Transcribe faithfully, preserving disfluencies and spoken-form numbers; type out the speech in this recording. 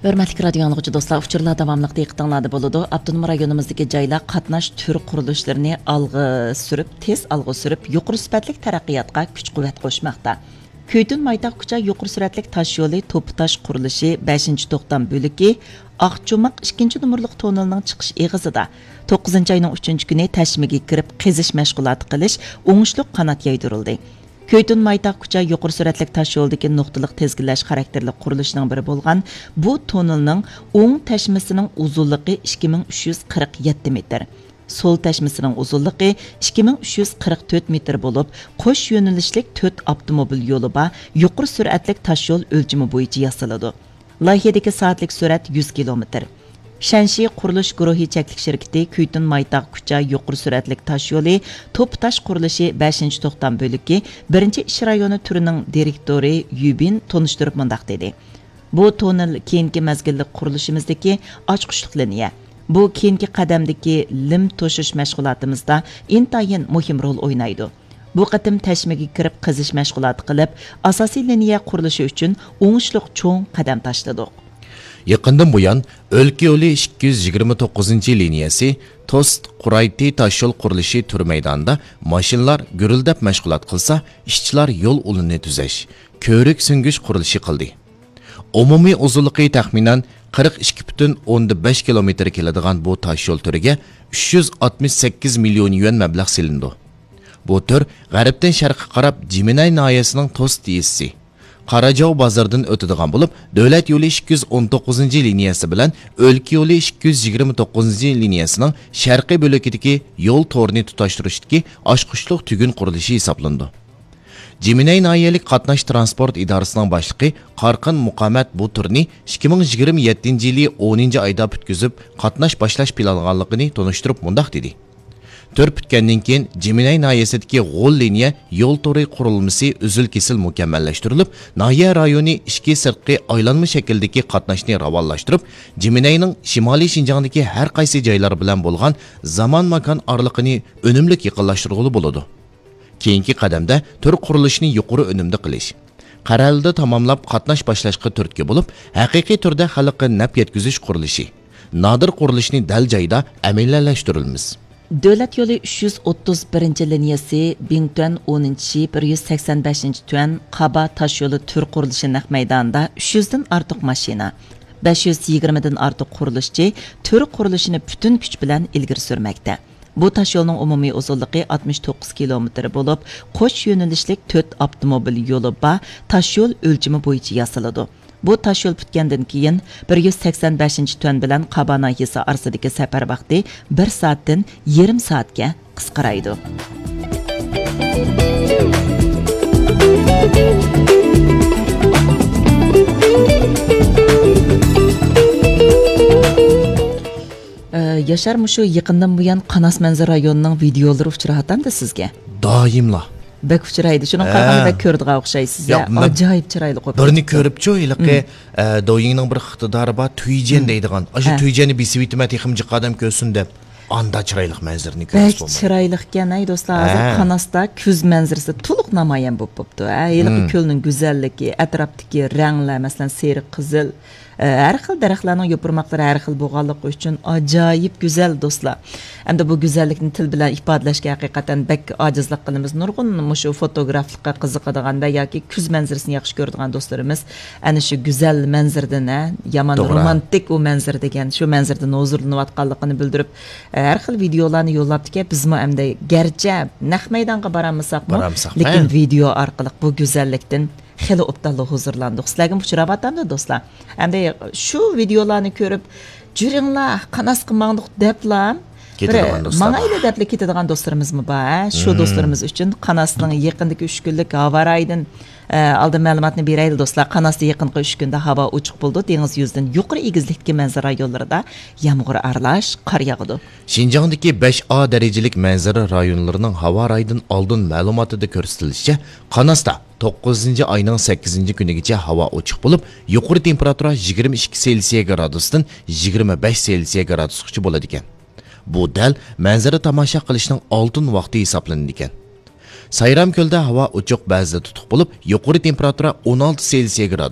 ھۆرمەتلىك رادىيو ئاڭلىغۇچى دوستلار، ئۇچۇرلار داۋاملىق دىققىتىڭلاردا بولىدۇ. ئاپتونوم رايونىمىزدىكى جايلار قاتناش تۈر قۇرۇلۇشلىرىنى ئالغا سۈرۈپ، تېز ئالغا سۈرۈپ، يۇقىرى سۈپەتلىك تەرەققىياتقا كۈچ-قۇۋۋەت قوشماقتا. كۈيتۇن مايتاغ كۇچا يۇقىرى سۈرئەتلىك تاش يولى توپا تاش قۇرۇلۇشى بەشىنچى توختام بۆلىكى ئاقچوماق ئىككىنچى نومۇرلۇق توننېلنىڭ چىقىش ئېغىزىدا توققۇزىنچى ئاينىڭ ئۈچىنچى كۈنى تەشمىگە كىرىپ قېزىش مەشغۇلاتى قىلىش ئوڭۇشلۇق قانات يايدۇرۇلدى. كۈيتۇن مايتاغ كۇچا يۇقىرى سۈرئەتلىك تاش يولىدىكى نۇقتىلىق تىزگىنلەش خاراكتېرلىك قۇرۇلۇشنىڭ بىرى بولغان بۇ توننېلنىڭ ئوڭ تەشمىسىنىڭ ئۇزۇنلۇقى ئىككى مىڭ ئۈچ يۈز قىرىق يەتتە مېتىر، سول تەشمىسىنىڭ ئۇزۇنلۇقى ئىككى مىڭ ئۈچ يۈز قىرىق تۆت مېتىر بولۇپ، قوش يۆنىلىشلىك تۆت ئاپتوموبىل يولى بار يۇقىرى سۈرئەتلىك تاش يول ئۆلچىمى بويىچە ياسىلىدۇ. لايىھەدىكى سائەتلىك سۈرئەت يۈز كىلومېتىر. شەنشى قۇرۇلۇش گۇرۇھى چەكلىك شىركىتى كۈيتۇن مايتاغ كۇچا يۇقىرى سۈرئەتلىك تاش يولى توپا تاش قۇرۇلۇشى بەشىنچى توختام بۆلىكى بىرىنچى ئىش رايونى تۈرىنىڭ دىرېكتورى يۈبىن تونۇشتۇرۇپ مۇنداق دېدى: بۇ توننېل كېيىنكى مەزگىللىك قۇرۇلۇشىمىزدىكى ئاچقۇچلۇق لىنىيە. بۇ كېيىنكى قەدەمدىكى لىم توشۇش مەشغۇلاتىمىزدا ئىنتايىن مۇھىم رول ئوينايدۇ. بۇ قېتىم تەشمىگە كىرىپ قېزىش مەشغۇلاتى قىلىپ، ئاساسىي لىنىيە قۇرۇلۇشى ئۈچۈن ئوڭۇشلۇق چوڭ قەدەم تاشلىدۇق. يېقىندىن بۇيان، ئۆلكە يولى ئىككى يۈز يىگىرمە توققۇزىنچى لىنىيەسى توست قۇرايتى تاشيول قۇرۇلۇشى تۈر مەيدانىدا ماشىنىلار گۈرۈلدەپ مەشغۇلات قىلسا، ئىشچىلار يول ئۇلىنى تۈزەش، كۆۋرۈك سۈڭگۈچ قۇرۇلۇشى قىلدى. ئومۇمىي ئۇزۇنلۇقى تەخمىنەن قىرىق ئىككى پۈتۈن ئوندىن بەش كىلومېتىر كېلىدىغان بۇ تاشيول تۈرىگە ئۈچ يۈز ئاتمىش سەككىز مىليون يۈەن مەبلەغ سېلىنىدۇ. بۇ تۈر غەربتىن شەرققە قاراپ جىمىنەي ناھىيەسىنىڭ توست يېزىسى، قاراجاۋ بازىرىدىن ئۆتىدىغان بولۇپ، دۆلەت يولى ئىككى يۈز ئون توققۇزىنچى لىنىيەسى بىلەن ئۆلكە يولى ئىككى يۈز يىگىرمە توققۇزىنچى لىنىيەسىنىڭ شەرقىي بۆلىكىدىكى يول تورىنى تۇتاشتۇرۇشتىكى ئاچقۇچلۇق تۈگۈن قۇرۇلۇشى ھېسابلىنىدۇ. جىمىنەي ناھىيەلىك قاتناش تىرانسپورت ئىدارىسىنىڭ باشلىقى قارقىن مۇقامەت بۇ تۈرنى ئىككى مىڭ يىگىرمە يەتتىنچى يىلى ئونىنچى ئايدا پۈتكۈزۈپ، قاتناش باشلاش پىلانلانغانلىقىنى تونۇشتۇرۇپ مۇنداق دېدى: تۈر پۈتكەندىن كېيىن، جىمىنەي ناھىيەسىدىكى غول لىنىيە يول تورى قۇرۇلمىسى ئۈزۈل-كېسىل مۇكەممەللەشتۈرۈلۈپ، ناھىيە رايونى ئىچكى-سىرتقى ئايلانما شەكىلدىكى قاتناشنى راۋانلاشتۇرۇپ، جىمىنەينىڭ شىمالىي شىنجاڭدىكى ھەر قايسى جايلار بىلەن بولغان زامان-ماكان ئارىلىقىنى ئۈنۈملۈك يېقىنلاشتۇرغىلى بولىدۇ. كېيىنكى قەدەمدە تۈر قۇرۇلۇشىنى يۇقىرى ئۈنۈمدە قىلىش، قەرەلىدە تاماملاپ قاتناش باشلاشقا تۈرتكە بولۇپ، ھەقىقىي تۈردە خەلققە نەپ يەتكۈزۈش قۇرۇلۇشى، نادىر قۇرۇلۇشنى دەل جايىدا ئەمەلىيلەشتۈرىمىز. دۆلەت يولى ئۈچ يۈز ئوتتۇز بىرىنچى لىنىيەسى بىڭتۈەن ئونىنچى شى بىر يۈز سەكسەن بەشىنچى تۈەن قابا تاش يولى تۈر قۇرۇلۇشى نەق مەيدانىدا ئۈچ يۈزدىن ئارتۇق ماشىنا، بەش يۈز يىگىرمىدىن ئارتۇق قۇرۇلۇشچى تۈر قۇرۇلۇشىنى پۈتۈن كۈچ بىلەن ئىلگىرى سۈرمەكتە. بۇ تاشيولنىڭ ئومۇمىي ئۇزۇنلۇقى ئاتمىش توققۇز كىلومېتىر بولۇپ، قوش يۆنىلىشلىك تۆت ئاپتوموبىل يولى بار تاشيول ئۆلچىمى بويىچە ياسىلىدۇ. بۇ تاشيول پۈتكەندىن كېيىن، بىر يۈز سەكسەن بەشىنچى تۈەن بىلەن قابا ناھىيەسى ئارىسىدىكى سەپەر ۋاقتى بىر سائەتتىن يېرىم سائەتكە قىسقىرايدۇ. ئە، ياشار، مۇشۇ يېقىندىن بۇيان قاناس مەنزىرە رايونىنىڭ ۋىدېئولىرى ئۇچراۋاتامدۇ سىزگە؟ دائىملا. بەك ئۇچرايدۇ. شۇنىڭغا ھە. قارىغاندا بەك كۆرىدىغان ئوخشايسىز. ياق، ھە؟ مەن ئاجايىپ چىرايلىق بولۇپ بىرنى كېتىپتۇ. كۆرۈپچۇ، ھېلىقى، مم. ئە، دويىڭنىڭ بىر ئىقتىدارى بار، تۈيجەن مم. دەيدىغان. ئاشۇ ھە. تۈيجەننى بېسىۋېتىمەن، تېخىمۇ جىق ئادەم كۆرسۇن دەپ. ئاندا چىرايلىق مەنزىرىنى كۆرسە بەك بولمايدۇ. چىرايلىقكەن، ھەي دوستلار. ھازىر ھە. قاناستا كۈز مەنزىرىسى تولۇق نامايان بولۇپ بوپتۇ. ھە، ھېلىقى مم. كۆلنىڭ گۈزەللىكى، ئەتراپتىكى رەڭلەر، مەسىلەن، سېرىق، قىزىل، ئە، ھەر خىل دەرەخلەرنىڭ يوپۇرماقلىرى ھەر خىل بولغانلىقى ئۈچۈن ئاجايىپ گۈزەل، دوستلار. ئەمدى بۇ گۈزەللىكنى تىل بىلەن ئىپادىلەشكە ھەقىقەتەن بەك ئاجىزلىق قىلىمىز. نۇرغۇن مۇشۇ فوتوگرافلىققا قىزىقىدىغان ۋە ياكى كۈز مەنزىرىسىنى ياخشى كۆرىدىغان دوستلىرىمىز ئەنە شۇ گۈزەل مەنزىرىدىن، ھە، يامان توغرا. رومانتىك ئۇ مەنزىرە دېگەن، شۇ مەنزىرىدىن ھۇزۇرلىنىۋاتقانلىقىنى بىلدۈرۈپ، ھە، ھەر خىل ۋىدېئولارنى يوللاپتىكەن. بىزمۇ ئەمدى گەرچە نەق مەيدانغا بارالمىساقمۇ، بارالمىساق، لېكىن ھە. ۋىدېئو ئارقىلىق بۇ گۈزەللىكتىن خېلى ئوبدانلا ھۇزۇرلاندۇق. سىلەرگىمۇ ئۇچراۋاتامدۇ، دوستلار؟ ئەمدى شۇ ۋىدېئولارنى كۆرۈپ، «جۈرۈڭلار، قاناسقا ماڭدۇق» دەپلا، بىر كېتىدىغان دوستلار بار. «ماڭايلى» دەپلا كېتىدىغان دوستلىرىمىزمۇ بار، ھە؟ شۇ مم. دوستلىرىمىز ئۈچۈن قاناسنىڭ يېقىندىكى ئۈچ كۈنلۈك ھاۋا رايىدىن، ئە، ئالدىن مەلۇماتنى بېرەيلى، دوستلار. قاناستا يېقىنقى ئۈچ كۈندە ھاۋا ئوچۇق بولىدۇ، دېڭىز يۈزىدىن يۇقىرى ئېگىزلىكتىكى مەنزىرە رايونلىرىدا يامغۇر ئارىلاش قار ياغىدۇ. شىنجاڭدىكى بەش ئا دەرىجىلىك مەنزىرە رايونلىرىنىڭ ھاۋا رايىدىن ئالدىن مەلۇماتىدا كۆرسىتىلىشىچە، قاناستا توققۇزىنچى ئاينىڭ سەككىزىنچى كۈنىگىچە ھاۋا ئوچۇق بولۇپ، يۇقىرى تېمپېراتۇرا يىگىرمە ئىككى سېلسىيە گرادۇستىن يىگىرمە بەش سېلسىيە گرادۇسقىچە بولىدىكەن. بۇ دەل مەنزىرە تاماشا قىلىشنىڭ ئالتۇن ۋاقتى ھېسابلىنىدىكەن. سايرامكۆلدە ھاۋا ئوچۇق، بەزىدە تۇتۇق بولۇپ، يۇقىرى تېمپېراتۇرا ئون ئالتە سېلسىيە گرادۇس.